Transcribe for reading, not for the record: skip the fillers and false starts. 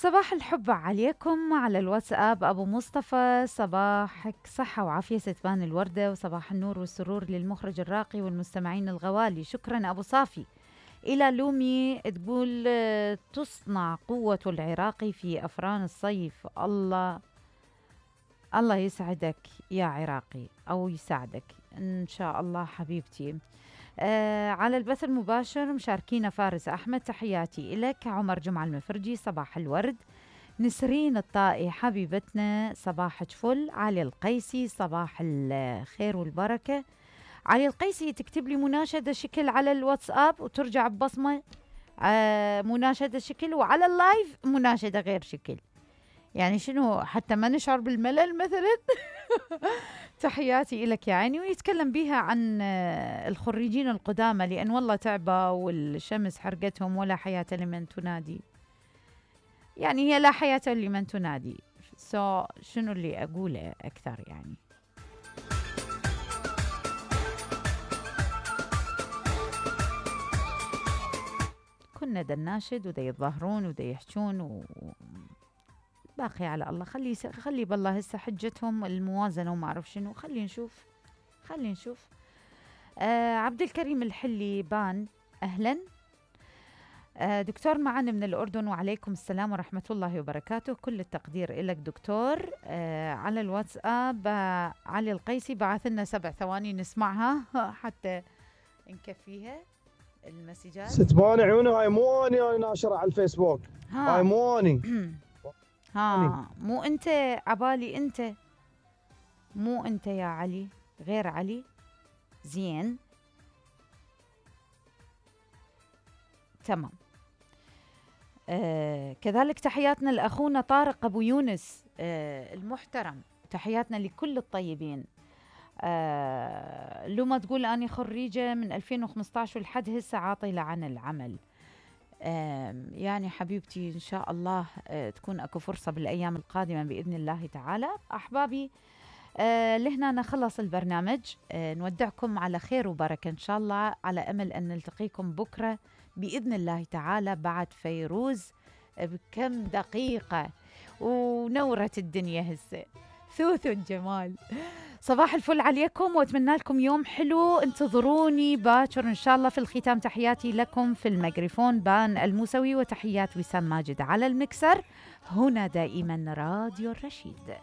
صباح الحب عليكم على الواتساب. أبو مصطفى، صباحك صحة وعافية ستبان الوردة، وصباح النور والسرور للمخرج الراقي والمستمعين الغوالي. شكرا أبو صافي. إلى لومي تقول تصنع قوة العراقي في أفران الصيف. الله يسعدك يا عراقي، أو يساعدك إن شاء الله حبيبتي. على البث المباشر مشاركينا فارس أحمد، تحياتي إلك. عمر جمعة المفرجي، صباح الورد. نسرين الطائي حبيبتنا، صباحك فل. علي القيسي، صباح الخير والبركة. علي القيسي تكتب لي مناشدة شكل على الواتساب وترجع ببصمة مناشدة شكل، وعلى اللايف مناشدة غير شكل. يعني شنو حتى ما نشعر بالملل مثلا؟ تحياتي إلك يا عيني. ويتكلم بيها عن الخريجين القدامى، لأن والله تعبوا والشمس حرقتهم، ولا حياة لمن تنادي. يعني هي لا حياة لمن تنادي. شنو اللي أقوله أكثر يعني؟ كنا دا الناشد ودا يتظاهرون ودا يحجون باقي على الله. خلي بالله هسه حجتهم الموازنة وما أعرف شنو. خلي نشوف. عبد الكريم الحلي بان، أهلا. دكتور معنا من الأردن، وعليكم السلام ورحمة الله وبركاته. كل التقدير إلك دكتور. على الواتساب علي القيسي بعث لنا 7 ثواني نسمعها حتى نكفيها المسجات. ستبان عيونه. هاي مو أنا ناشرة على الفيسبوك. هاي مو أني. مو أنت عبالي. أنت مو أنت يا علي، غير علي. زين تمام. كذلك تحياتنا لأخونا طارق أبو يونس المحترم. تحياتنا لكل الطيبين. لما تقول أني خريجة من 2015 ولحد هسه عاطلة عن العمل. يعني حبيبتي إن شاء الله تكون أكو فرصة بالأيام القادمة بإذن الله تعالى. أحبابي لهنا نخلص البرنامج. نودعكم على خير وبركة إن شاء الله، على أمل أن نلتقيكم بكرة بإذن الله تعالى بعد فيروز بكم دقيقة ونورت الدنيا هسه. ثوث الجمال. صباح الفل عليكم واتمنى لكم يوم حلو. انتظروني باكر ان شاء الله. في الختام تحياتي لكم في الميكروفون بان الموسوي، وتحيات وسام ماجد على المكسر. هنا دائما راديو الرشيد.